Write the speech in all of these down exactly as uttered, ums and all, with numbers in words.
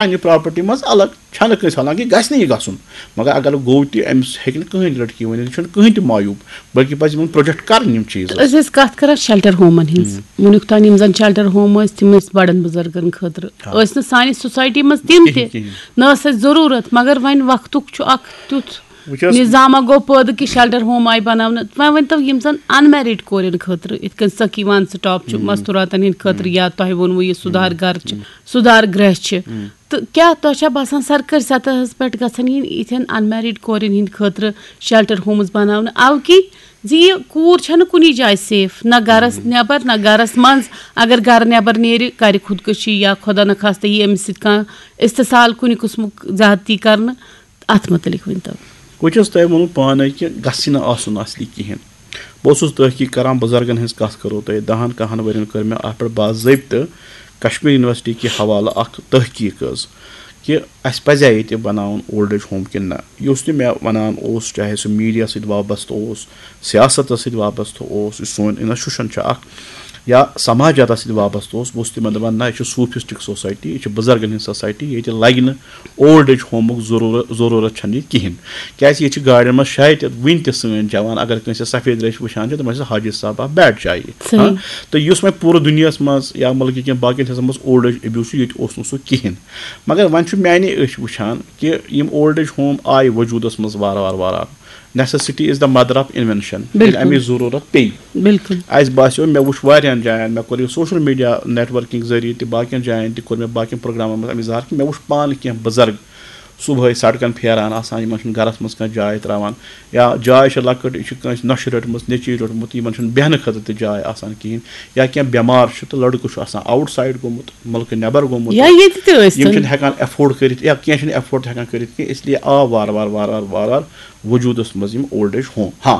پننہِ پراپرٹی منٛز الگ، چھنہٕ کٲنٛسہِ، حالانکہ گژھِ نہٕ یہِ گژھُن، مگر اگر گوٚو تہِ، أمِس ہیٚکہِ نہٕ کٕہٕنۍ لڑکی ؤنِتھ، یہِ چھُنہٕ کٕہٕنۍ تہِ معیوب، بلکہِ پزِ یِمن پروٹیکٹ کرٕنۍ یِم چیٖز۔ أسۍ ٲسۍ کتھ کران شیلٹر ہومن ہٕنٛز۔ وُنیُک تام یِم زن شیلٹر ہوم ٲسۍ، تِم ٲسۍ بڑن بُزرگن خٲطرٕ، آ۔ ٲسۍ نہٕ سانہِ سوسایٹی منٛز تِم تہِ، کِہیٖنۍ، کِہیٖنۍ۔ نہ ٲس اَسہِ ضروٗرت، مگر وۄنۍ وقتُک چھُ اکھ تیُتھ وٕچھ حظ، نظامہ گوٚو پٲدٕ کہِ شیلٹر ہوم آیہِ بناونہٕ۔ وۄنۍ ؤنۍ تو، یِم زن انمیرڈ کورٮ۪ن خٲطرٕ، یِتھ کٔنۍ سقی وان سٹاپ چھُ، مستوراتن ہٕنٛدِ خٲطرٕ، یا تۄہہِ ووٚنوُ یہِ سُدھار گرٕ چھِ، سُدھار گرہ چھِ، تہٕ کیٛاہ تۄہہِ چھا باسان سرکٲرۍ سطحس پٮ۪ٹھ گژھن یِنۍ یِتھٮ۪ن انمیرڈ کورٮ۪ن ہٕنٛدِ خٲطرٕ شیلٹر ہومز بناونہٕ؟ اَوٕ کِنۍ زِ یہِ کوٗر چھَنہٕ کُنی جایہِ سیف، نہ گرس نٮ۪بر، نہ گرس منٛز۔ اگر گرٕ نٮ۪بر نیرِ، کرِ خودکشی یا خۄدا نخواستہ یی أمِس سۭتۍ کانٛہہ استحصال کُنہِ قٕسمُک زیادتی کرنہٕ، اتھ متعلق ؤنۍ تو۔ وٕچھ حظ، تۄہہِ ووٚنوُ پانے کہِ گژھِ نہٕ آسُن اصلی کِہیٖنۍ۔ بہٕ اوسُس تحقیق کران، بُزرگن ہٕنٛز کتھ کرو تۄہہِ، دہن کہن ؤرین کٔر مےٚ اتھ پٮ۪ٹھ باضٲبطہٕ کشمیر یونیورسٹی کہِ حوالہٕ اکھ تحقیق حظ، کہِ اسہِ پزِ ییٚتہِ بناوُن اولڈ ایج ہوم کِنہٕ نہ۔ یُس تہِ مےٚ ونان اوس، چاہے سُہ میڈیا سۭتۍ وابستہٕ اوس، سیاستس سۭتۍ وابستہٕ اوس، یُس سون انسٹیٹیوشن چھُ اکھ، یا سماجاتس سۭتۍ وابستہٕ اوس، بہٕ اوسُس تِمن دپان، نہ، یہِ چھِ صوفسٹک سوسایٹی، یہِ چھِ بُزرگن ہٕنٛز سوسایٹی، ییٚتہِ لگہِ نہٕ اولڈ ایج ہومُک ضروٗرت، ضروٗرت چھنہٕ یہِ کِہینۍ۔ کیازِ ییٚتہِ چھِ گاڑٮ۪ن منٛز شاید تہِ وٕنہِ تہِ سٲنۍ جوان، اگر کٲنٛسہِ سفید ریش وٕچھان چھِ، تِمن چھِ حاجی صاحب اکھ بیڈ چاہیے۔ صحیح۔ ہاں، تہٕ یُس وۄنۍ پوٗرٕ دُنیاہس منٛز یا مُلکہٕ کٮ۪ن باقین حصن منٛز اولڈ ایج ابیوس چھُ، ییٚتہِ اوس نہٕ سُہ کِہینۍ۔ مگر وۄنۍ چھُ میانہِ أچھ وٕچھان کہِ یِم اولڈ ایج ہوم آیہِ وجوٗدس منٛز وارٕ وارٕ وارٕ وارٕ۔ Necessity is the mother of invention۔ ییٚلہِ بِلکُل۔ امِچ ضروٗرت پیٚیہِ۔ بِلکُل۔ اسہِ باسیو، مےٚ وٕچھ واریاہن جاین، مےٚ کوٚر یہِ سوشل میڈیا نیٹ ورکنگ ذٔریعہٕ تہِ، باقین جاین تہِ کوٚر مےٚ، باقین پروگرامن منٛز امِچ ظاہر کہِ مےٚ وٕچھ پانہٕ کینٛہہ بُزرگ صبحٲے سڑکن پھیران آسان، یِمن چھُنہٕ گرس منٛز کانٛہہ جاے تراوان، یا جاے چھِ لۄکٕٹ، یہِ چھِ کٲنٛسہِ نۄشہِ رٔٹمٕژ، نیٚچوی روٚٹمُت، یِمن چھُنہٕ بیٚہنہٕ خٲطرٕ تہِ جاے آسان کِہینۍ، یا کینٛہہ بٮ۪مار چھُ تہٕ لڑکہٕ چھُ آسان آوُٹ سایڈ گوٚمُت، مُلکہٕ نٮ۪بر گوٚمُت، یا ییٚتہِ تہِ ٲسۍ یِم تن۔ چھِنہٕ ہٮ۪کان ایفورڈ کٔرِتھ، یا کینٛہہ چھِنہٕ ایفورڈ ہٮ۪کان کٔرِتھ کینٛہہ، اس لیے آو وارٕ وارٕ وارٕ وارٕ وارٕ وارٕ وجوٗدس منٛز یِم اولڈ ایج ہوم۔ ہاں،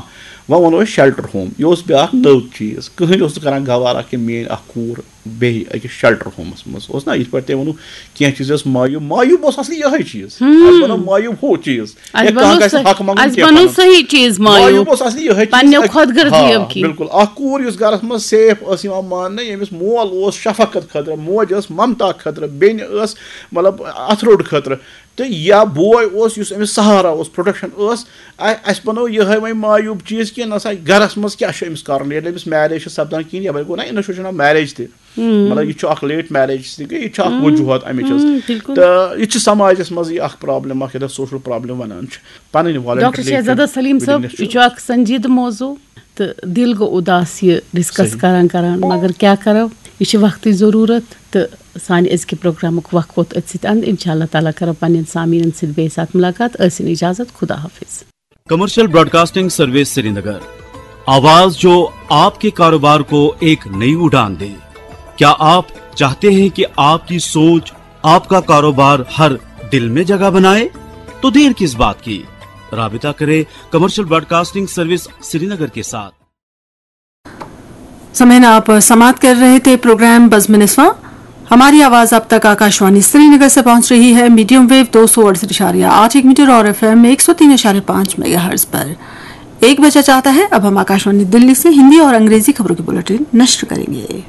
وۄنۍ وَنو أسۍ شیلٹر ہوم، یہِ اوس بیٛاکھ نٔو چیٖز، کٕہٕنۍ اوس نہٕ کران گوارا کہِ میٲنۍ اکھ کوٗر بیٚہہِ أکِس شیلٹر ہومس منٛز۔ اوس نہ یِتھ پٲٹھۍ تۄہہِ ووٚنوُ، کینٛہہ چیٖز ٲس معیوب، معیوب اوس اصلی یِہے چیٖز۔ اسہِ بنوو معیوب ہُہ چیٖز۔ اسہِ یا کانٛہہ بنوو گژھِ صحیح، حق منٛگُن اسہِ کینٛہہ بنوو پنُن۔ صحیح چیٖز معیوب۔ معیوب اوس اصلی یِہے چیٖز۔ پننیو اَتہِ خۄد غرضیو ہاں، کِنۍ۔ بِلکُل۔ اکھ کوٗر یُس گرس منٛز سیف ٲس یِوان ماننہٕ، ییٚمِس مول اوس شفقت خٲطرٕ، موج ٲس ممتا خٲطرٕ، بیٚنہِ ٲس مطلب اتھٕ روٚٹ خٲطرٕ، تہٕ یا بوے اوس یُس أمِس سہارا اوس، پروٹیکشن ٲس۔ ا-، اسہِ بنوو یِہے وۄنۍ معیوب چیٖز کہِ نہ سا گرس منٛز کیٛاہ چھُ أمِس کرُن، ییٚلہِ أمِس میریج چھِ سپدان کِہیٖنۍ، یپٲرۍ گوٚو نہ انسٹیٹیوشن آف میریج تہِ۔ مطلب، یہِ چھُ اکھ لیٹ میریج تہِ گٔے، یہِ چھُ اکھ وجوہات امِچ حظ۔ بِلکُل۔ تہٕ یہِ چھُ سماجس منٛز یہِ اکھ پرابلم اکھ، یتھ سوشل پرابلم ونان چھِ۔ پنٕنۍ ڈاکٹر voluntary شہزادہ سلیم صٲب، willingness چھُ۔ یہِ چھُ اکھ سنجیدٕ موضوع، تہٕ دِل گوٚو اُداس یہِ ڈسکس صحیح۔ کران کران، مگر کیٛاہ کرو، یہِ چھِ وقتٕچ ضروٗرت، تہٕ سانہِ أزکہِ پروگرامُک وقت ووت أتھۍ سۭتۍ اند۔ انشاءاللہ تعالیٰ کرو پننٮ۪ن سامعیٖنن سۭتۍ بیٚیہِ ساتہٕ ملاقات۔ ٲسِن اجازت، خدا حافظ۔ کمرشل براڈکاسٹنگ سروس سرینگر، آواز جو آپ کے کاروبار کو ایک نئی اڑان دے۔ کیا آپ چاہتے ہیں کہ آپ کی سوچ، آپ کا کاروبار ہر دل میں جگہ بنائے؟ تو دیر کس بات کی، رابطہ کریں کمرشل براڈکاسٹنگ سروس سرینگر کے ساتھ۔ سامعین، آپ سماعت کر رہے تھے پروگرام بزم نسواں۔ ہماری آواز آپ تک آکاشوانی سری نگر سے پہنچ رہی ہے، میڈیم ویو دو سو اڑسٹھ اشاریہ آٹھ ایک میٹر اور ایف ایم ایک سو تین اشاریہ پانچ میگا ہرٹز پر۔ ایک بجا چاہتا ہے، اب ہم آکاشوانی دلی سے ہندی اور انگریزی خبروں کی بلٹن نشر کریں گے۔